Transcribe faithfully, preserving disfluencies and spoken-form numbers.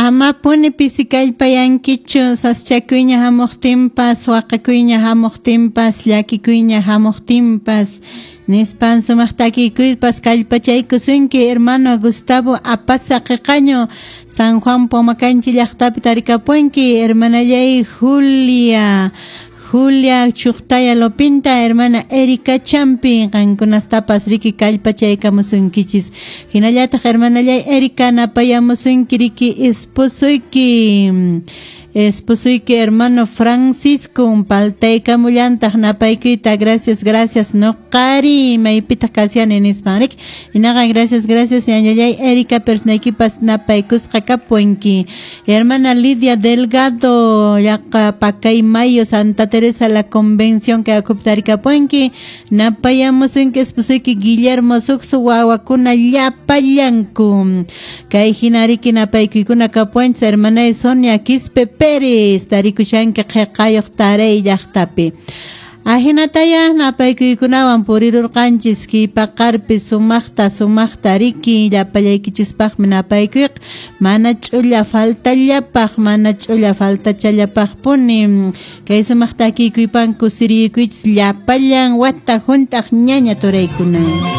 Amapuni pisikallpayankichu saschakuyña hamuqtinpas, waqakuyña hamuqtinpas, llakikuyña hamuqtinpas. Nispan sumaq takikuypas kallpachaykusunki hermano Gustavo Apaza Qiqaño San Juan Pomacanchi llaqtapi tarikapunki hermanallay Julia Julia Chuqtaya Lopinta, hermana Erika Champi, qankunastapas riki kallpachaykamusunkichis. Hinallataq hermanallay Erika napayamusunki riki esposoyki. Esposoyki hermano Francisco paltaykamullantaq napaykuyta gracias gracias noqari maypitaq kasiani nispan riki hinaqa gracias gracias ñañallay Erika personaykipas napaykusqa kapuanki. Hermana Lidia Delgado yaqa Pacaymayo Santa Teresa la Convención que akuptarikapuanki napayamusunki esposoyki Guillermo Suxu wawakuna llapallanku kay hina riki napaykuykuna kapuanchis hermana Sonia Quispe Pérez tarikushanki qhiqayuq taray llaqtapi. Ahinataya napaykuykunawan purirurqanchis kipaqarpi sumaqta sumaqta riki llapallaykichispaqmi napaykuyqa mana ch'ulla faltallapaq mana ch'ulla faltachallapaqpuni kay sumaq takikuypan kusirikuychis llapallan wata hunt'aq ñaña turaykuna.